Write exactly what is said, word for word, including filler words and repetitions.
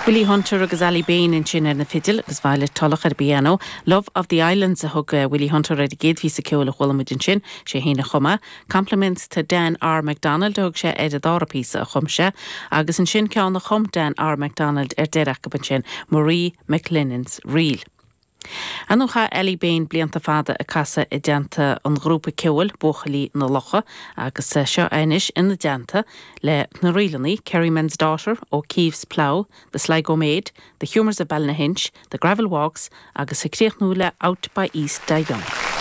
Willie Hunter agus Ali Bain ansin ar na fidil agus Violet Tulloch ar piano. Love of the Islands a thug uh, Willie Hunter ar an gcéad phíosa ceoil a chuala muid ansin sé féin a chum é. Compliments to Dan R. McDonald a thug sé ar an dara píosa a chum sé, agus ansin ceann a chum Dan R. McDonald ar deireadh ansin Marie McLennan's Reel. Anú cha Ellie Bain blianta fada ag casadh i dteannta an ghrúpa ceoil Buachaillí na Locha agus eh, seo anois ina dteannta le na ríleanna Kerryman's Daughter O'Keefe's Plough, The Sligo Maid, The Humours of Ballynahinch, The Gravel Walks agus ag críochnú le Out by East Die Young.